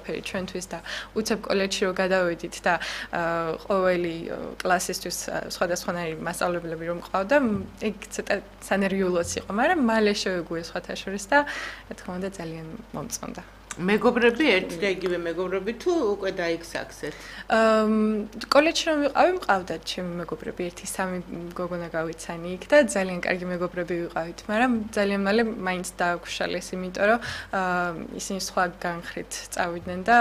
ყველაფერი ჩვენთვის და უცებ კოლეჯში რო გადავედით და ყოველი კლასისთვის სხვადასხვანაირი მასწავლებლები რომ ყავდა, ეგ ცოტა სანერვიულოც იყო, მაგრამ მალე შევეგუე სხვათა შორის და რა თქმა უნდა ძალიან მომწონდა. მეგობრები ერთი და იგივე მეგობრები თუ უკვე დაიქსაქსეთ? კოლეჯში რომ ვიყავი, მყავდათ ჩემი მეგობრები, 1-3 გოგონა გავიცანი იქ და ძალიან კარგი მეგობრები ვიყავით, მაგრამ ძალიან მალე მაინც დააგვშალეს, იმიტომ რომ ისინი სხვა განხრით წავიდნენ და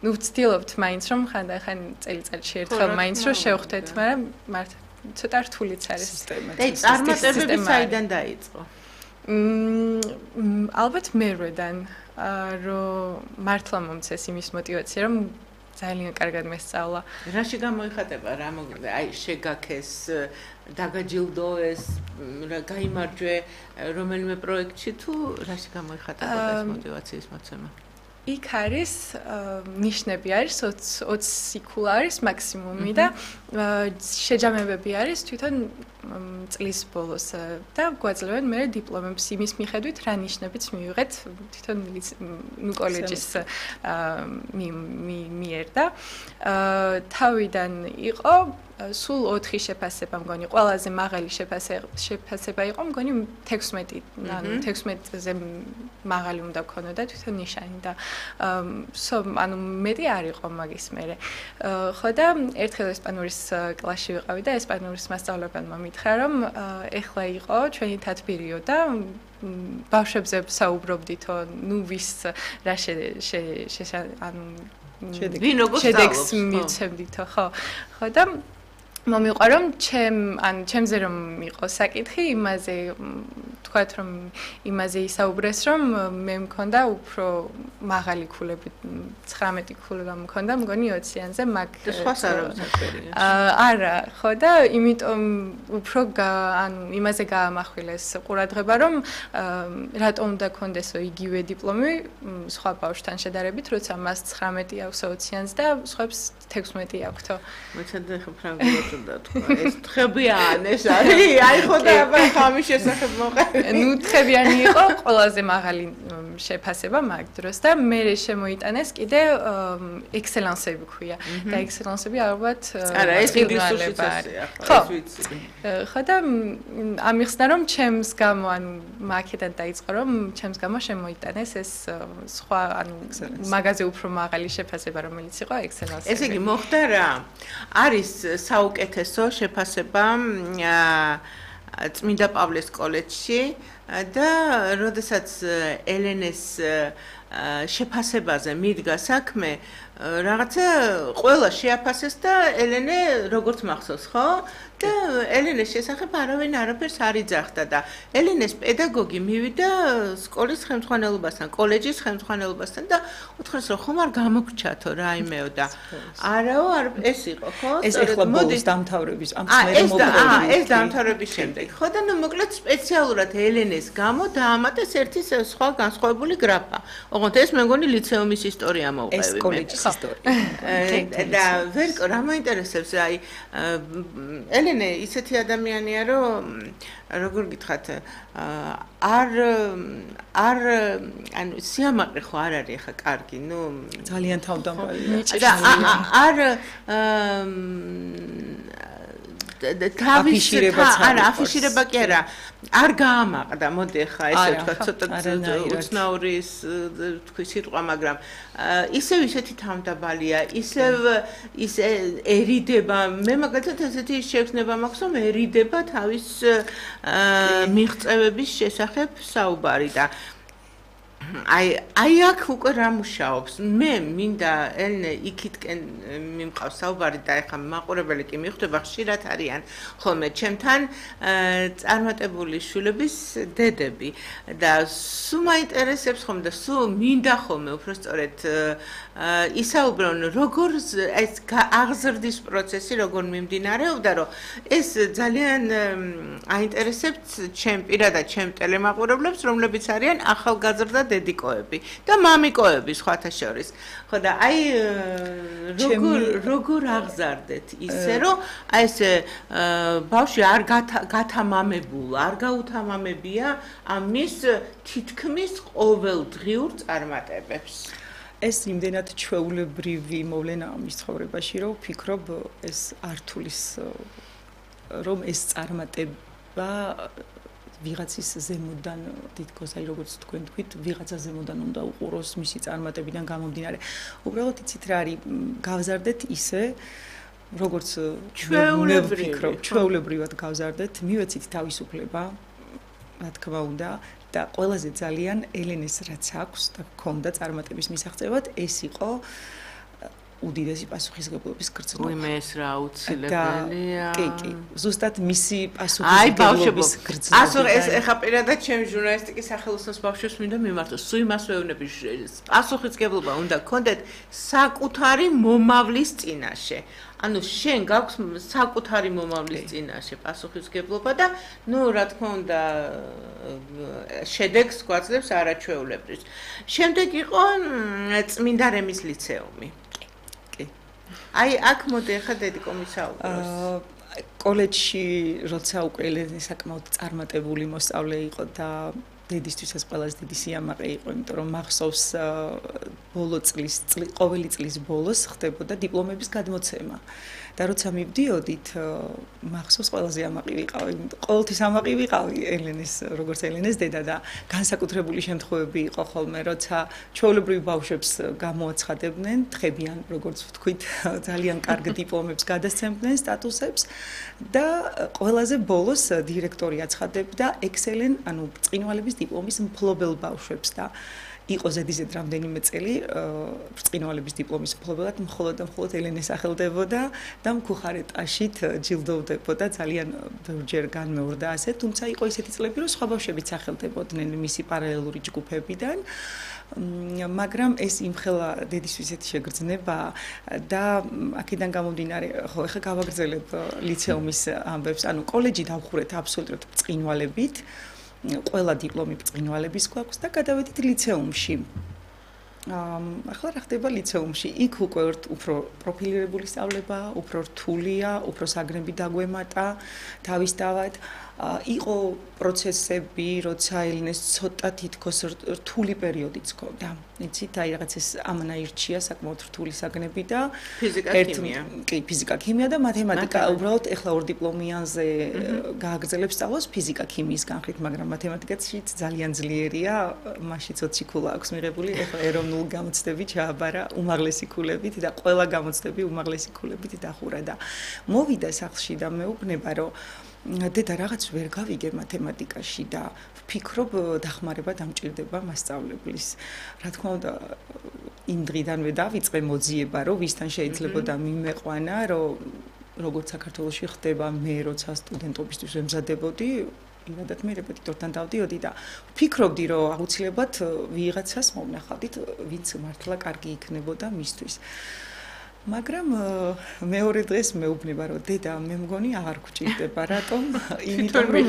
ნუ ვცდილობთ მაინც რომ ხანდახან წელიწადში ერთხელ მაინც რომ შევხვდეთ, მაგრამ მართლა ცოტა რთულიც არის სისტემა. და წარმატებები საიდან დაიწყო? ალბათ მერვედან რომ მართლა მომცეს იმის мотиваცია რომ ძალიან კარგად მესწავლა. რაში გამოიხატება რა აი შეგაქეს დაგაჯილდოეს გაიმარჯვე რომელიმე პროექტში თუ რაში გამოიხატება ეს мотиваციის მოცემა? იქ არის ნიშნები არის 20 იქულა არის მაქსიმუმი და შეჯამებები არის თვითონ წლის ბოლოს და გვაძლევენ მე დიპლომებს იმის მიხედვით რა ნიშნებიც მივიღეთ თვითონ კოლეჯის მიერ და თავიდან იყო სულ 4 შეფასება მგონი ყველაზე მაღალი შეფასება იყო მგონი 16 ანუ 16-ზე მაღალი უნდა ქონოდა თვითონ ნიშანი და ანუ მეტი არ იყო მაგის მერე ხო და ერთხელ ესპანურის კლასში ვიყავი და ესპანურის მასწავლებელმა მითხრა რომ ეხლა იყო ჩვენი თათბირიო და ბავშვებზე საუბრობდითო ნუ ვის რა ანუ ვინ როგორ შედეგს მივცემდითო ხო და მომიყვა რომ ჩემზე რომ იყო საკითხი იმაზე თქვათ რომ იმაზე ისაუბრეს რომ მე მქონდა უფრო მაღალი ქულები 19 ქული გამქონდა მგონი 20-იანზე მაგ სხვას არ აქვს არა ხო და იმიტომ უფრო ანუ имаზე გაამახვილეს ყურადღება რომ რატომ უნდა კონდესო იგივე დიპლომი სხვა ბავშვთან შედარებით როცა მას 19 აქვს 20-იანზე და სხვებს 16 აქვთო მოიცადე ხო ფრანგულად უნდა თქვა ეს თხებიან ეს არის აი ხო და ხამის შესახებ მოყევი ნუ თხებიანი იყო ყველაზე მაღალი შეფასება მაგ დროს და მე შემოიტანეს კიდე ექსელენსები ქვია და ექსელენსები ალბათ არა ეს ინგლისურშიც ასეა ხო ეს ვიცი ხო და ამიხსნა რომ ჩემს გამო ანუ მაკედან დაიწყო რომ ჩემს გამო შემოიტანეს ეს სხვა ანუ მაგაზე უფრო მაღალი შეფასება რომელიც იყო ექსელენსები ესე იგი მოხდა რა არის საუკეთესო შეფასება წმინდა პავლეს კოლეჯში და როდესაც ელენეს შეფასებაზე მიდგა საქმე რაღაცა ყველა შეაფასეს და ელენე როგორც მახსოვს ხო და ელენეს შესახებ არავინ არაფერს არ იძახდა და ელენეს პედაგოგი მივიდა სკოლის ხელმძღვანელობასთან კოლეჯის ხელმძღვანელობასთან და უთხრეს რომ ხომ არ გამოგრჩათო რაიმეო და არაო ეს იყო ხო ეს ეხლა ბოლოს დამთავრების ამ მერე ეს დამთავრების შემდეგ ხო და ნუ მოკლედ სპეციალურად ელენეს გამო დაამატეს ერთი სხვა განსხვავებული გრაფა ოღონდ ეს მე მგონი ლიცეუმის ისტორია მოვყევი ეს კოლეჯის ისტორია და ვერკო რა მაინტერესებს აი ელენე ისეთი ადამიანია რომ როგორ გითხრათ არ ანუ სიამაყე ხო არ არის ხა კარგი ნუ ძალიან თავდამხველი და არ აფიშირება კი არა არ გაამაყდა მოდი ხა ესე ვთქვა ცოტა უცნაური თქვი სიტყვა მაგრამ ისევ ისეთი თავდაბალია ისევ ის ერიდება მე მაგალითად ესეთი შეგრძნება მაქვს რომ ერიდება თავის მიღწევების შესახებ საუბარი და აი აქ უკვე რა მუშაობს მე მინდა ელენე იქითკენ მიმყავს საუბარი და ეხა მაყურებელი კი მიხვდება ხშირად არიან ხოლმე ჩემთან წარმატებული შვილების დედები და სულ მაინტერესებს ხომ და სულ მინდა ხოლმე უბრალოდ ისაუბრონ როგორ ეს აღზრდის პროცესი როგორ მიმდინარეობდა რომ ეს ძალიან აინტერესებს ჩემ პირადად ჩემ ტელემაყურებლებს რომლებიც არიან ახალგაზრდა დედიკოები და მამიკოები სხვათა შორის. ხო და აი როგორ აღზარდეთ ისე რომ აი ეს ბავშვი არ გათამამებულ, არ გაუთამამებია ამის თითქმის ყოველდღიურ წარმატებებს. ეს იმდენად ჩვეულებრივი მოვლენაა მის ცხოვრებაში, რომ ვფიქრობ ეს ართულის რომ ეს წარმატება ვიღაცის ზემოდან თითქოს აი როგორც თქვენ თქვით, ვიღაცა ზემოდან უნდა უყუროს მისი წარმატებიდან გამომდინარე. უბრალოდ იცით რა არის, გავზარდეთ ისე როგორც ჩვეულებრივად გავზარდეთ, მივეცით თავისუფლება, რა თქმა უნდა, და ყველაზე ძალიან ელენეს რაც აქვს და გქონდა წარმატების მისაღწევად, ეს იყო უდიდესი პასუხისმგებლობის გრძნობა. მე ეს რა აუცილებელია. კი, ზუსტად მისი პასუხისმგებლობის გრძნობა. ასურ ეს ეხა პირადად ჩემი ჟურნალისტიკის სახელოსნოს ბავშვებს მინდა მიმართოს. სულ იმას ვეუბნები, პასუხისმგებლობა უნდა გქონდეთ საკუთარი მომავლის წინაშე. ანუ შენ გაქვს საკუთარი მომავლის წინაშე პასუხისმგებლობა და ნუ რა თქმა უნდა შედეგს გვაძლევს არაჩვეულებრივს. შემდეგ იყო წმინდა რემის ლიცეუმი. აი აქ მოდი ახლა დედიკო მისაუბროს. კოლეჯში როცა უკვე ელენე საკმაოდ წარმატებული მოსწავლე იყო და დედისთვისაც ყველაზე დიდი სიამაყე იყო, იმიტომ რომ მახსოვს ბოლო წლის ყოველი წლის ბოლოს ხდებოდა დიპლომების გადმოცემა. და როცა მივდიოდით, მახსოვს ყველაზე ამაყი ვიყავი, ყოველთვის ამაყი ვიყავი ელენეს, როგორც ელენეს დედა და განსაკუთრებული შემთხვევები იყო ხოლმე, როცა ჩვეულებრივ ბავშვებს გამოაცხადებდნენ, თხებიან, როგორც ვთქვით, ძალიან კარგ დიპლომებს გადასცემდნენ, სტატუსებს და ყველაზე ბოლოს დირექტორი აცხადებდა ექსელენ, ანუ ბრწყინვალების დიპლომის მფლობელ ბავშვებს და იყო ზედიზედ რამდენიმე წელი ბრწყინვალების დიპლომის მფლობელად მხოლოდ და მხოლოდ ელენეს სახელდებოდა და მქუხარეტაშით ჯილდოვდებოდა ძალიან ბევრჯერ განმეორდა ასე, თუმცა იყო ისეთი წლები, რომ სხვა ბავშვებიც სახელდებოდნენ მისი პარალელური ჯგუფებიდან. მაგრამ ეს იმხელა დედისთვის ესეთი შეგრძნება და აქედან გამომდინარე, ხო, ეხლა გავაგრძელებ ლიცეუმის ამბებს, ანუ კოლეჯი დავხურეთ აბსოლუტურად ბრწყინვალებით. ყველა დიპლომი ბრწყინვალების გვაქვს და გადავედით ლიცეუმში. ახლა რა ხდება ლიცეუმში? იქ უკვე უფრო პროფილირებული სწავლება, უფრო რთულია, უფრო საგნები დაგვემატა თავისთავად. იყო პროცესები, როცა ელენეს ცოტა თითქოს რთული პერიოდიც ჰქონდა. იცით, აი რაღაც ეს ამანაირჩია საკმაოდ რთული საგნები და ფიზიკა, ქიმია. კი, ფიზიკა, ქიმია და მათემატიკა. უბრალოდ ეხლა ორ დიპლომიანზე გააგრძელებს სწავლას ფიზიკა, ქიმიის განხრით, მაგრამ მათემატიკაშიც ძალიან ძლიერია, მაშიც 20 ქულა აქვს მიღებული, ეხლა ეროვნულ გამოცდები ჩააბარა უმაღლესი ქულებით და ყველა გამოცდები უმაღლესი ქულებით დახურა და მოვიდა სახლში და მეუბნება, რომ დედა რაღაც ვერ გავიგე მათემატიკაში და ვფიქრობ დახმარება დამჭირდება მასწავლებლის. რა თქმა უნდა, იმ დღიდანვე დავიწყე მოძიება, რომ ვისთან შეიძლებოდა მიმეყვანა, რომ როგორც საქართველოში ხდება, მე როცა სტუდენტობისთვის ვემზადებოდი, იმედად მე რეპეტიტორთან დავდიოდი და ვფიქრობდი, რომ აუცილებლად ვიღაცას მომნახავდით, ვინც მართლა კარგი იქნებოდა მისთვის. მაგრამ მეორე დღეს მეუბნება, რომ დედა, მე მგონი აღარ გვჭირდება, რატომ? იმიტომ რომ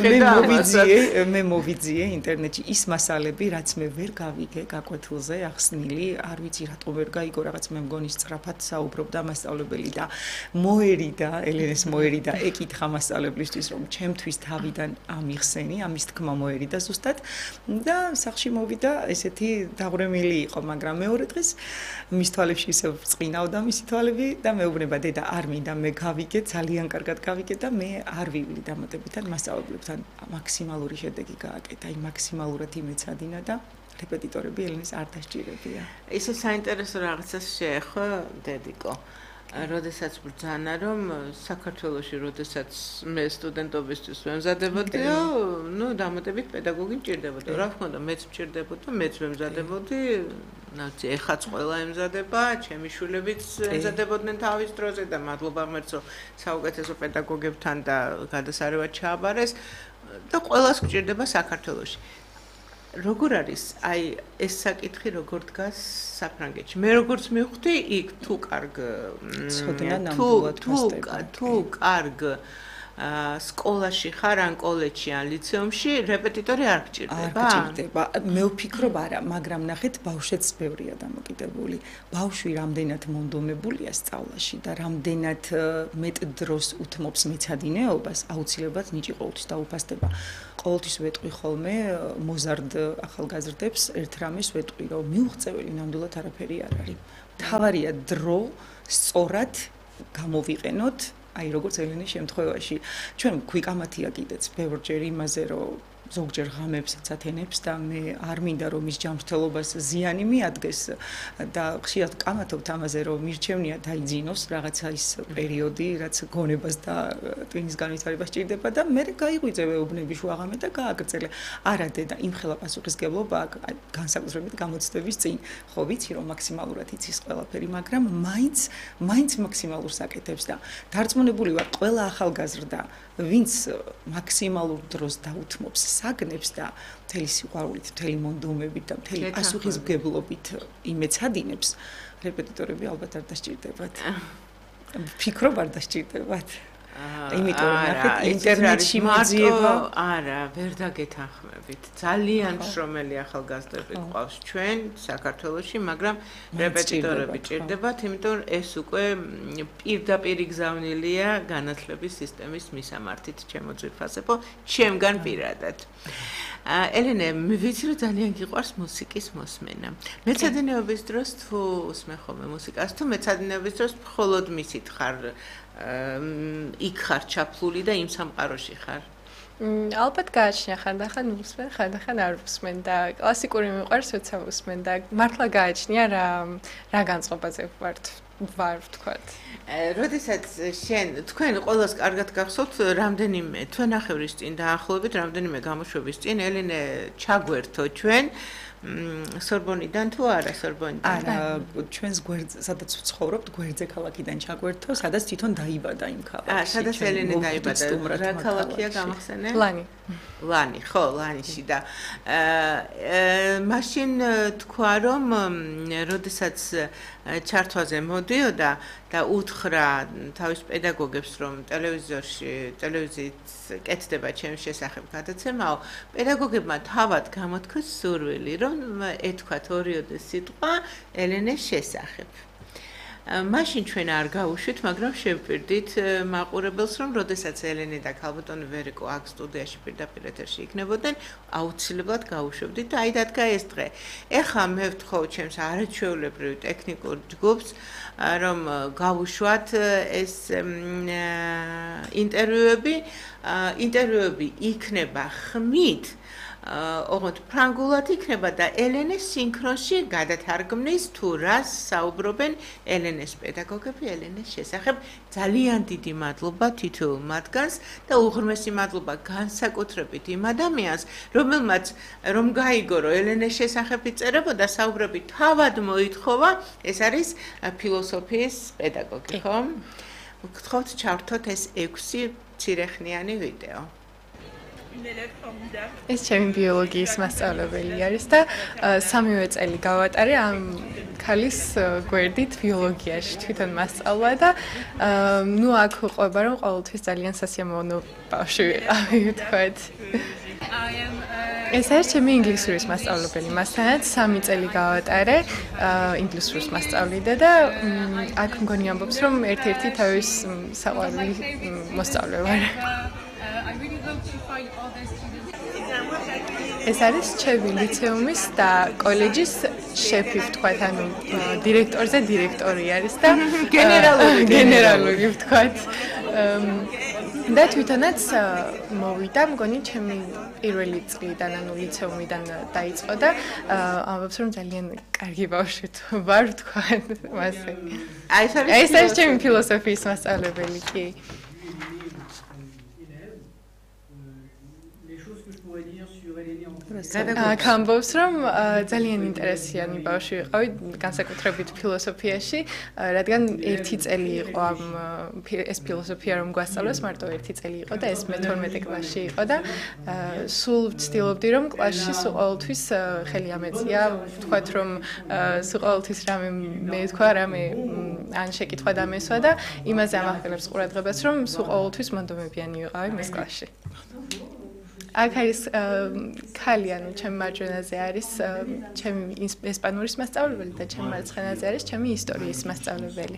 მე მოვიძიე ინტერნეტში ის მასალები, რაც მე ვერ გავიგე გაკვეთილზე ახსნილი, არ ვიცი რატომ ვერ გაიგო, რაღაც მე მგონი სწრაფად საუბრობდა მასწავლებელი და მოერიდა, ელენეს მოერიდა, ეკითხა მასწავლებლისთვის, რომ ჩემთვის თავიდან ამიხსენი, ამის თქმა მოერიდა ზუსტად და სახლში მოვიდა, ესეთი დაღვრემილი იყო, მაგრამ მეორე დღეს მის თვალებში ისევ ბრწყინავდა მისი თვალები და მეუბნება, დედა, არ მინდა მე გავიგე, ძალიან კარგად გავიგე და მე არ ვივლი დამატებითად მასწავლებლებთან. მაქსიმალური შედეგი გააკეთა, აი მაქსიმალურად იმეცადინა და რეპეტიტორები ელენეს არ დასჭირებია. ისე საინტერესო რაღაცას შეეხო, დედიკო. როდესაც ბრძანა, რომ საქართველოში, როდესაც მე სტუდენტობისთვის ვემზადებოდიო, ნუ დამატებით პედაგოგი მჭირდებოდა. რა თქმა უნდა, მეც მჭირდებოდა, მეც ვემზადებოდი, ნაცი ეხაც ყველა ემზადება, ჩემი შვილებიც ემზადებოდნენ თავის დროზე და მადლობა ღმერთს, საუკეთესო პედაგოგებთან და გადასარევად ჩააბარეს და ყველას მჭირდება საქართველოში. როგორ არის აი ეს საკითხი როგორ დგას საფრანგეთში? მე როგორც მივხვდი, იქ თუ კარგ სკოლაში ხარ ან კოლეჯში ან ლიცეუმში რეპეტიტორი არ გჭირდება? არ გჭირდება. მე ვფიქრობ არა, მაგრამ ნახეთ, ბავშვებს ბევრია დამოკიდებული. ბავშვი რამდენად მონდომებულია სწავლაში და რამდენად მეტ დროს უთმობს მეცადინეობას, აუცილებლად ნიჭი ყოველთვის დაუფასდება. ყოველთვის ვეტყვი ხოლმე მოზარდ ახალგაზრდებს ერთ რამეს ვეტყვი, რომ მიუღწეველი ნამდვილად არაფერი არ არის. მთავარია დრო სწორად გამოვიყენოთ, აი როგორც ელენის შემთხვევაში. ჩვენ ქვიკამათია კიდეც ბევრჯერ იმაზე, რომ ზოგჯერ ღამებსაც ათენებს და მე არ მინდა რომ ის ჯანმრთელობას ზიანი მიადგეს და ხშირად კამათობთ ამაზე რომ მირჩევნია დაიძინოს რაღაცა ის პერიოდი რაც გონებას და ტვინის განვითარებას ჭირდება და მე გაიღვიძე უბნები შუაღამე და გააგრძელე არა დედა იმხელა პასუხისგებლობა განსაკუთრებით გამოცდების წინ ხო ვიცი რომ მაქსიმალურად იცის ყველაფერი მაგრამ მაინც მაქსიმალურს აკეთებს და დარწმუნებული ვარ ყველა ახალგაზრდა ვინც მაქსიმალურ დროს დაუთმობს საგნებს და მთელი სიყვარულით, მთელი მონდომებით და მთელი პასუხისმგებლობით იმეცადინებს, რეპეტიტორები ალბათ არ დასჭირდებათ. ვფიქრობ არ დასჭირდებათ. იმიტომ ნახეთ ინტერნეტში მოძიება არა, ვერ დაგეთანხმებით. ძალიან შრომელი ახალგაზრდები გვყავს ჩვენ საქართველოში, მაგრამ რეპეტიტორები ჭირდებათ, იმიტომ ეს უკვე პირდაპირ გზავნილია განათლების სისტემის მისამართით ჩემო ძვირფასებო, ჩემგან პირადად. ელენე, ვიცი რომ ძალიან გიყვარს მუსიკის მოსმენა. მეცადინეობის დროს თუ უსმენ ხოლმე მუსიკას, თუ მეცადინეობის დროს მხოლოდ მისით ხარ იქ ხარ ჩაფლული და იმ სამყაროში ხარ? ალბათ გააჩნია ხანდახან უსმენ, ხანდახან არ უსმენ და კლასიკური მიყვარს როცა უსმენ და მართლა გააჩნია რა განწყობაზე ვარ ვთქვათ. როდესაც თქვენ ყველას კარგად გახსოვთ რამდენიმე თვენახევრის წინ დაახლოებით რამდენიმე გამოშვების წინ ელენე ჩაგვერთო ჩვენ სორბონიდან თუ არა სორბონიდან? არა, ჩვენს გვერდზე, სადაც ვცხოვრობთ, გვერდზე ქალაქიდან ჩაგვერთო, სადაც თვითონ დაიბადა იმ ქალაქში. სადაც ელენე დაიბადა. რა ქალაქია გამახსენე? ლანი, ხო, ლანიში და მაშინ თქვა რომ როდესაც ჩართვაზე მოდიოდა და უთხრა თავის პედაგოგებს რომ ტელევიზიით კეთდება ჩემს შესახებ გადაცემაო, პედაგოგებმა თავად გამოთქვეს სურვილი რომ ეთქვათ ორიოდე სიტყვა ელენეს შესახებ. მაშინ ჩვენ არ გავუშვით, მაგრამ შევპირდით მაყურებელს, რომ როდესაც ელენე და ქალბატონი ვერიკო აქ სტუდიაში პირდაპირ ეთერში იქნებოდნენ, აუცილებლად გავუშვებდით და აი დადგა ეს დღე. ეხლა მე ვთხოვ ჩემს არაჩვეულებრივ ტექნიკურ ჯგუფს, რომ გავუშვათ ეს ინტერვიუები იქნება ხმით ოღონდ ფრანგულად იქნება და ელენეს სინქრონში გადათარგმნის თუ რას საუბრობენ ელენეს პედაგოგები ელენეს შესახებ. ძალიან დიდი მადლობა თითოეულ მათგანს და უღრმესი მადლობა განსაკუთრებით იმ ადამიანს, რომელმაც რომ გაიგო რომ ელენეს შესახებ იწერებოდა საუბრები თავად მოითხოვა, ეს არის ფილოსოფიის პედაგოგი, ხო? გთხოვთ ჩავრთოთ ეს 6 მცირეხნიანი ვიდეო. ეს ჩემი ბიოლოგიის მასწავლებელი არის და 3 წელი გავატარე ამ ქალის გვერდით ბიოლოგიაში თვითონ მასწავლა და ნუ აქ ყვება რომ ყოველთვის ძალიან სასიამოვნო ბავშვი ვიყავი ვთქვათ. ეს არის ჩემი ინგლისურის მასწავლებელი. მასთანაც 3 წელი გავატარე ინგლისურს მასწავლიდა და აქ მგონი ამბობს რომ ერთ-ერთი თავის საყვარელი მოსწავლე ვარ. ეს არის ჩემი ლიცეუმის და კოლეჯის შეფი ვთქვათ, ანუ დირექტორზე დირექტორი არის და გენერალური ვთქვათ. და თვითონაც მოვიდა, მგონი ჩემი პირველი წლიდან, ანუ ლიცეუმიდან დაიწყო და ამბობს რომ ძალიან კარგი ბავშვი ვარ ვთქვათ მასე. ეს არის ჩემი ფილოსოფიის მასწავლებელი კი. Les choses que je pourrais dire sur Eleni en გამბობს რომ ძალიან ინტერესიანი ბავშვი ვიყავი განსაკუთრებით ფილოსოფიაში, რადგან 1 წელი იყო ეს ფილოსოფია რომ გვასწავლეს, მარტო 1 წელი იყო და ეს მე-12 კლასში იყო და სულ ვცდილობდი რომ კლასში სულ ყოველთვის ხელი ამეწია, ვთქვათ რომ სულ ყოველთვის რამე მეთქვა, რამე ან შეკითხვა დამესვა და იმაზე ამახვილებს ყურადღებას რომ სულ ყოველთვის მონდომებიანი ვიყავი მის კლასში. აქ არის ქალი, ანუ ჩემი მარჯვენაზე არის ჩემი ესპანურის მასწავლებელი და ჩემი მარცხენაზე არის ჩემი ისტორიის მასწავლებელი.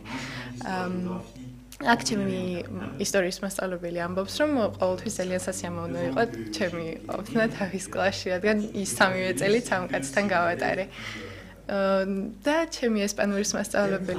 აქ ჩემი ისტორიის მასწავლებელი ამბობს, რომ ყოველთვის ძალიან სასიამოვნო იყო ჩემი ყოფნა თავის კლასში, რადგან ის 3 წელიც ამ კაცთან გავატარე. და ჩემი ესპანურის მასწავლებელი